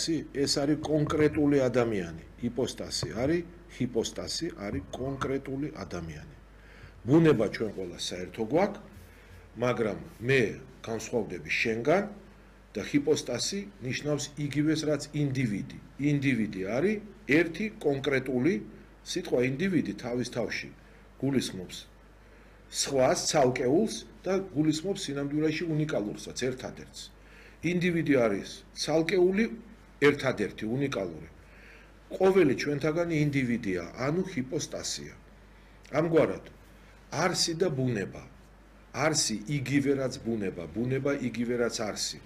ჰიპოსტასი ეს არის კონკრეტული ადამიანი. ჰიპოსტასი არის ჰიპოსტასი არის კონკრეტული ადამიანი. ბუნება ჩვენ ყველა საერთო გვაქვს, მაგრამ მე განსხვავდები შენგან და ჰიპოსტასი ნიშნავს იგივეს რაც ინდივიდი. ინდივიდი არის ერთი კონკრეტული სიტყვა ინდივიდი თავის თავში გულისხმობს სხვას ცალკეულს და გულისხმობს სინამდვილეში უნიკალურსაც ერთადერთს. ინდივიდი არის ცალკეული ერთადერთი უნიკალური. ყოველი ჩვენთაგანი ინდივიდია, ანუ ჰიპოსტასია. ამგვარად არსი და ბუნება. არსი იგივე რაც ბუნება, ბუნება იგივე რაც არსი.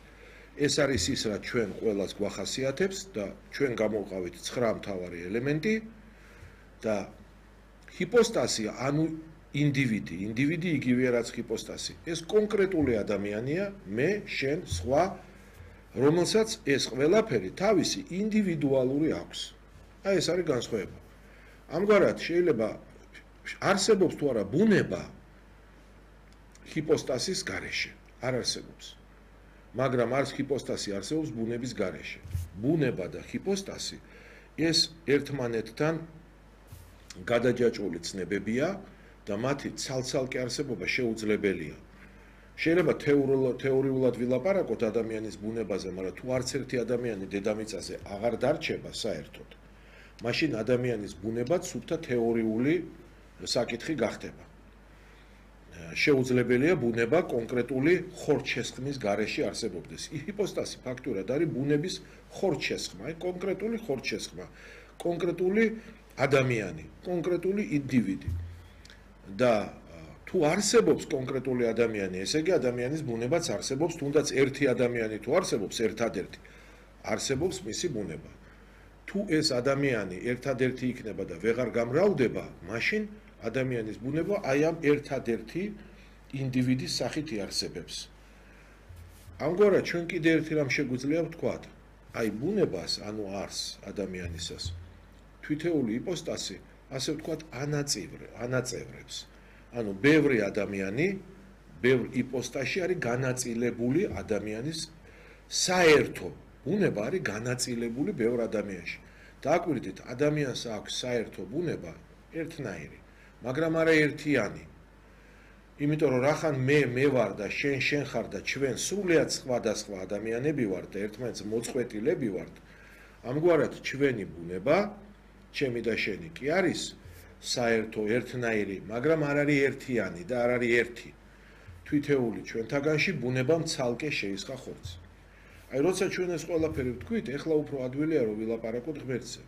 ეს არის ის რაც ჩვენ ყველას გვახასიათებს და ჩვენ გამოვყავით 9 მთავარი ელემენტი და ჰიპოსტასი ანუ ინდივიდი, ინდივიდი იგივეა რაც ჰიპოსტასი. ეს კონკრეტული ადამიანია, მე, შენ, სხვა, რომელსაც ეს ყველაფერი თავისი ინდივიდუალური აქვს. აი ეს არის განსხვავება. ამგვარად შეიძლება არსებობს თუ არა ბუნება ჰიპოსტასის გარეშე. არ არსებობს. მაგრამ არც ჰიპოსტასი არსებობს ბუნების გარეშე. ბუნება და ჰიპოსტასი ეს ერთმანეთთან გადაჯაჭვული ცნებებია და მათი ცალ-ცალკე არსებობა შეუძლებელია. შეიძლება თეორიულად ვილაპარაკოთ ადამიანის ბუნებაზე, მაგრამ თუ არც ერთი ადამიანი დედამიწაზე აღარ დარჩება საერთოდ, მაშინ ადამიანის ბუნებაც სულთა თეორიული საკითხი გახდება. შეუძლებელია ბუნება კონკრეტული ხორჩესხმის გარეშე არსებობდეს. ჰიპოსტასი ფაქტურად არის ბუნების ხორჩესხმა, კონკრეტული ხორჩესხმა, კონკრეტული ადამიანი, კონკრეტული ინდივიდი. და თუ არსებობს კონკრეტული ადამიანი, ესე იგი ადამიანის ბუნებაც არსებობს, თუნდაც ერთი ადამიანი თუ არსებობს, ერთადერთი, არსებობს მისი ბუნება. თუ ეს ადამიანი ერთადერთი იქნება და ვეღარ გამრავლდება, მაშინ ადამიანის ბუნება აი ამ ერთადერთი ინდივიდის სახით იარსებებს. ამგვარად ჩვენ კიდე ერთი რამ შეგვიძლია ვთქვათ, აი ბუნებას, ანუ არსს ადამიანისას, თვითეული ჰიპოსტასი, ასე ვთქვათ, ანაწევრებს. ანუ ბევრი ადამიანი, ბევრ ჰიპოსტაში არის განაწილებული ადამიანის საერთო ბუნება არის განაწილებული ბევრ ადამიანში. დააკვირდით, ადამიანს აქვს საერთო ბუნება ერთნაირი, მაგრამ არა ერთიანი. იმიტომ რომ რახან მე ვარ და შენ ხარ და ჩვენ სრულიად სხვადასხვა ადამიანები ვართ და ერთმანეთს მოწყვეტილები ვართ, ამგვარად ჩვენი ბუნება, ჩემი და შენი კი არის საერთო ერთნაირი, მაგრამ არ არის ერთიანი და არ არის ერთი. თვითეული ჩვენთაგანში ბუნებამ ცალკე შეისხა ხორცი. აი როცა ჩვენ ეს ყველაფერი ვთქვით, ეხლა უფრო ადვილია რომ ვილაპარაკოთ ღმერთზე.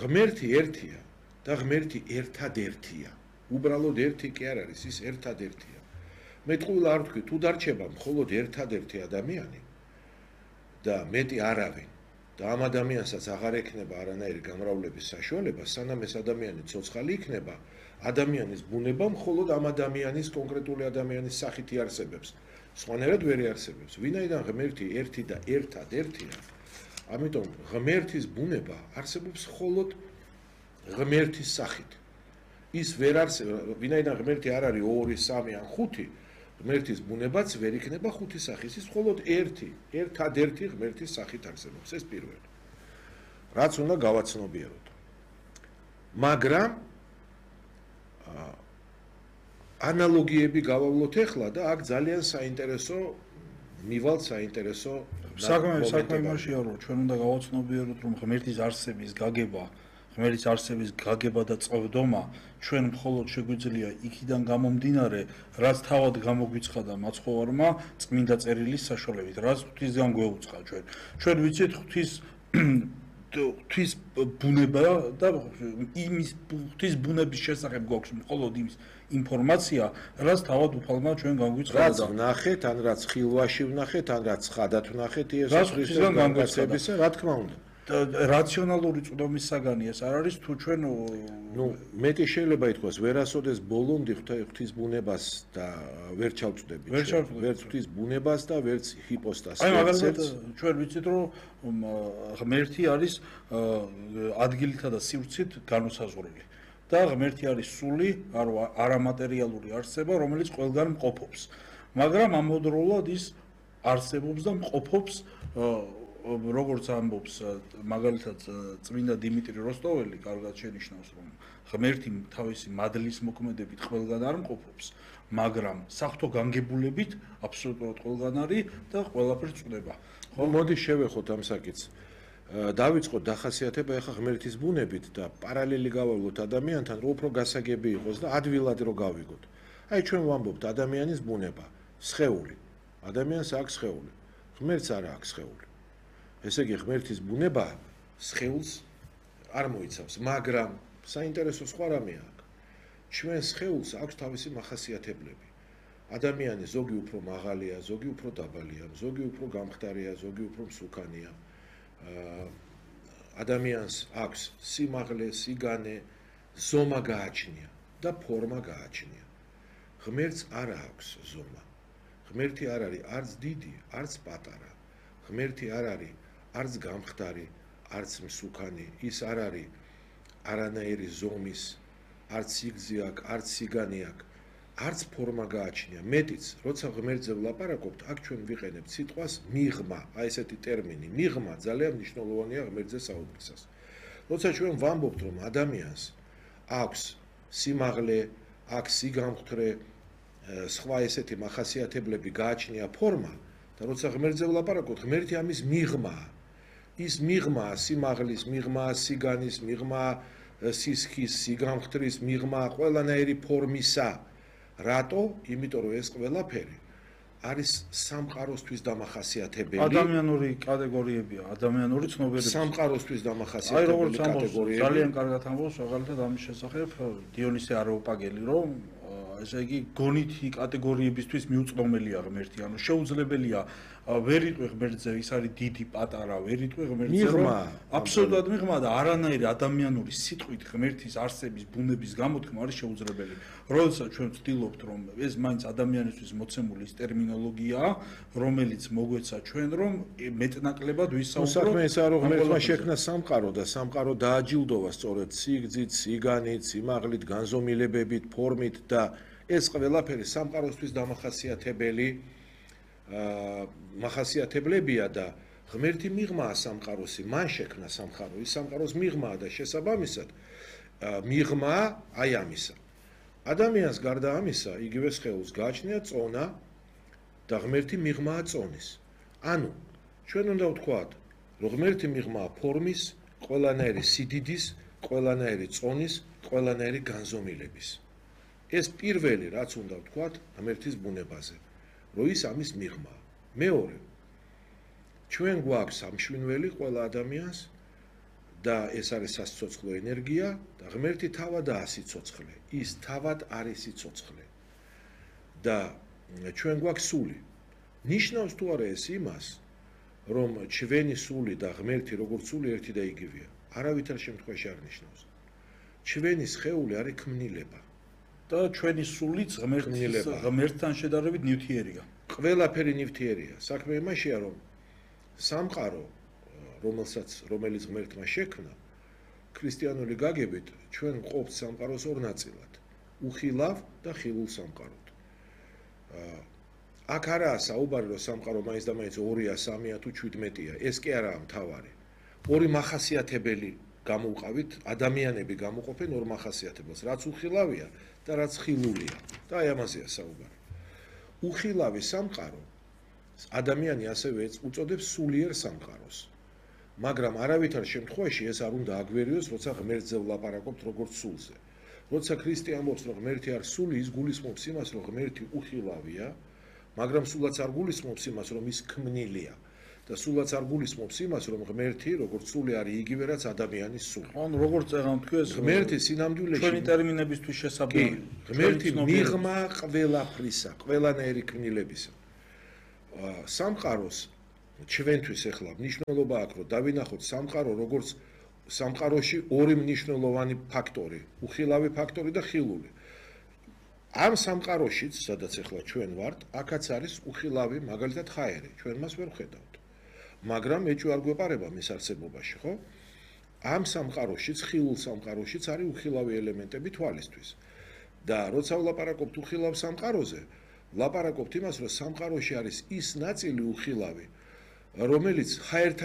ღმერთი ერთია და ღმერთი ერთადერთია. უბრალოდ ერთი კი არ არის, ის ერთადერთია. მე ტყუილ არ ვთქვი, თუ დარჩება მხოლოდ ერთადერთი ადამიანი და მეტი არავინ და ამ ადამიანსაც აღარ ექნება არანაირი გამრავლების საშუალება, სანამ ეს ადამიანი ცოცხალი იქნება, ადამიანის ბუნება მხოლოდ ამ ადამიანის კონკრეტული ადამიანის სახით იარსებებს. სხვანაირად ვერ იარსებებს. ვინაიდან ღმერთი ერთი და ერთადერთია, ამიტომ ღმერთის ბუნება არსებობს მხოლოდ ღმერთის სახით. ის ვერ არსებობს, ვინაიდან ღმერთი არ არის 2, 3 ან 5, ღმერთის ბუნებაც ვერ იქნება 5 სახის, ის მხოლოდ ერთადერთი ღმერთის სახით არსებობს, ეს პირველი. რაც უნდა გავაცნობიეროთ. მაგრამ ანალოგიები გავავლოთ ახლა და აქ ძალიან საინტერესო მივალთ საინტერესო საქმე იმაშია, რომ ჩვენ უნდა გავაცნობიეროთ, რომ ღმერთის არსების გაგება, ღმერთის არსების გაგება და წვდომა ჩვენ მხოლოდ შეგვიძლია იქიდან გამომდინარე, რაც თავად გამოგვიცხადა მაცხოვარმა წმინდა წერილის საშუალებით, რაც ღვთისგან გვეუწყა ჩვენ. ჩვენ ვიცით ღვთის ბუნება და იმის ღვთის ბუნების შესახებ გვაქვს მხოლოდ იმის ინფორმაცია, რაც თავად უფალმა ჩვენ გამოგვიცხადა. რაც ვნახეთ, ან რაც ხილვაში ვნახეთ, ან რაც ხადად ვნახეთ, იესოს ქრისტეს განმარტებისა, რა თქმა უნდა. რაციონალური წვდომის საგანი ეს არ არის თუ ჩვენ მეტი შეიძლება ითქვას ვერასოდეს ბოლომდე ღვთის ბუნებას და ვერ ჩავწვდებით ვერც ღვთის ბუნებას და ვერც ჰიპოსტასს აი მაგალითად ჩვენ ვიცით რომ ღმერთი არის ადგილითა და სივრცით განუსაზღვრელი და ღმერთი არის სული არამატერიალური არსება რომელიც ყველგან მყოფობს მაგრამ ამავდროულად ის არსებობს და მყოფობს როგორც ამბობს მაგალითად წმინდა დიმიტრი როსტოველი კარგად შენიშნავს რომ ღმერთი თავისი მადლის მოქმედებით ყველგან არ მყოფობს მაგრამ საღვთო განგებულებით აბსოლუტურად ყველგან არის და ყველაფერს წვდება ხო მოდი შევეხოთ ამ საკითხს დავიწყოთ დახასიათება ახლა ღმერთის ბუნებით და პარალელი გავავლოთ ადამიანთან რომ უფრო გასაგები იყოს და ადვილად რო გავიგოთ აი ჩვენ ვამბობთ ადამიანის ბუნება სხეული ადამიანს აქვს სხეული ღმერთს არ აქვს სხეული ესე იგი ღმერთის ბუნება სხეულს არ მოიცავს მაგრამ საინტერესო სხვა რამეა აქ ჩვენ სხეულს აქვს თავისი მახასიათებლები ადამიანი ზოგი უფრო მაღალია ზოგი უფრო დაბალია ზოგი უფრო გამხდარია ზოგი უფრო მსუქანია ადამიანს აქვს სიმაღლე სიგანე ზომა გააჩნია და ფორმა გააჩნია ღმერთს არ აქვს ზომა ღმერთი არ არის არც დიდი არც პატარა ღმერთი არ არის არც გამხდარი არც მსუქანი ის არ არის არანაირი ზომის არც სიგრძე აქვს არც სიგანი აქვს არც ფორმა გააჩნია მეტიც როცა ღმერთზე ვლაპარაკობთ აქ ჩვენ ვიყენებთ სიტყვას მიღმა აი ესეთი ტერმინი მიღმა ძალიან მნიშვნელოვანია ღმერთზე საუბრისას როცა ჩვენ ვამბობთ რომ ადამიანს აქვს სიმაღლე აქვს სიგამხდრე სხვა ესეთი მახასიათებლები გააჩნია ფორმა და როცა ღმერთზე ვლაპარაკობთ ღმერთი ამის მიღმაა ის მიღმაა სიმაღლის მიღმაა სიგანის მიღმაა სისქის სიგამხდრის მიღმაა ყველანაირი ფორმისა რატო? იმიტომ რომ ეს ყველაფერი არის სამყაროსთვის დამახასიათებელი. ადამიანური კატეგორიებია, ადამიანური ცნობიერება. სამყაროსთვის დამახასიათებელი კატეგორიები. ძალიან კარგად ამბობს, მაგალითად ამის შესახებ დიონისე არაოპაგელი, რომ ესე იგი გონითი კატეგორიებისთვის მიუწვდომელია ღმერთი, ანუ შეუძლებელია ვერ იტყვი ღმერთზე, ის არის დიდი, პატარა, ვერ იტყვი ღმერთზე, რომ აბსოლუტურად მიღმა და არანაირი ადამიანური სიტყვით ღმერთის არსების ბუნების გამოთქმა არის შეუძლებელი. როდესაც ჩვენ ვცდილობთ, რომ ეს მაინც ადამიანისთვის მოცემული ის ტერმინოლოგიაა, რომელიც მოგვეცა ჩვენ, რომ მეტნაკლებად ვისაუბროთ. საქმე ესაა, რომ ღმერთმა შექმნა სამყარო და სამყარო დააჯილდოვა სწორედ სიგრძით, სიგანით, სიმაღლით, განზომილებებით, ფორმით და ეს ყველაფერი სამყაროსთვის დამახასიათებელი მახასიათებლებია და ღმერთი მიღმაა სამყაროსი, მან შექმნა სამყარო, ის სამყაროს მიღმაა და შესაბამისად მიღმაა აი ამისა. ადამიანს გარდა ამისა, იგივე სხეულს გააჩნია წონა და ღმერთი მიღმაა წონის. ანუ ჩვენ უნდა ვთქვათ, რომ ღმერთი მიღმაა ფორმის, ყველანაირი სიდიდის, ყველანაირი წონის, ყველანაირი განზომილების. ეს პირველი რაც უნდა ვთქვათ ღმერთის ბუნებაზე, რომ ის ამის მიღმაა. მეორე, ჩვენ გვაქვს ამშვენველი ყველა ადამიანს და ეს არის სასიცოცხლო ენერგია და ღმერთი თავადაა სიცოცხლე. ის თავად არის სიცოცხლე. და ჩვენ გვაქვს სული. ნიშნავს თუ არა ეს იმას, რომ ჩვენი სული და ღმერთი როგორც სული ერთი და იგივეა. არავითარ შემთხვევაში არ ნიშნავს. ჩვენი სხეული არის ქმნილება. და ჩვენი სულიც ღმერთთან შედარებით ნივთიერია. ყველაფერი ნივთიერია. საქმე იმაშია, რომ სამყარო, რომელიც ღმერთმა შექმნა, ქრისტიანული გაგებით, ჩვენ ვყოფთ სამყაროს ორ ნაწილად. უხილავ და ხილულ სამყაროდ. აქ არაა საუბარი, რომ სამყარო მაინც და მაინც 2-ია, 3-ია თუ 17-ია. ეს კი არაა მთავარი. ორი მახასიათებელი გამოვყავით, ადამიანები გამოყოფენ ორ მახასიათებელს, რაც უხილავია და რაც ხილულია. და აი ამაზეა საუბარი. უხილავი სამყარო ადამიანი ასევე უწოდებს სულიერ სამყაროს. მაგრამ არავითარ შემთხვევაში ეს არ უნდა აგვერიოს, როცა ღმერთზე ვლაპარაკობთ როგორც სულზე. როცა ქრისტე ამბობს, რომ ღმერთი არ სული, ის გულისხმობს იმას, რომ ღმერთი უხილავია, მაგრამ სულაც არ გულისხმობს იმას, რომ ის ქმნილია. და სულაც არ გულისხმობს იმას, რომ ღმერთი როგორც სული არის იგივე რაც ადამიანის სული. ანუ როგორც წეგან თქვეს, ღმერთი სინამდვილეში ჩვენი ტერმინებისთვის შესაბამი. ღმერთი მიღმა ყველაფრისა, ყველანაირი ქმნილებისა. სამყაროს ჩვენთვის ახლა მნიშვნელობა აქვს, რომ დავინახოთ სამყარო როგორც სამყაროში ორი მნიშვნელოვანი ფაქტორი, უხილავი ფაქტორი და ხილული. ამ სამყაროშიც, სადაც ახლა ჩვენ ვართ, აქაც არის უხილავი, მაგალითად ჰაერი, ჩვენ მას ვერ ვხედავთ. მაგრამ ეჭვი არ გვეპარება მის არსებობაში, ხო? ამ სამყაროშიც, ხილულ სამყაროშიც არის უხილავი ელემენტები თვალისთვის. და როცა ვლაპარაკობთ უხილავ სამყაროზე, ვლაპარაკობთ იმას, რომ სამყაროში არის ის ნაწილი უხილავი, რომელიც ჰაერთან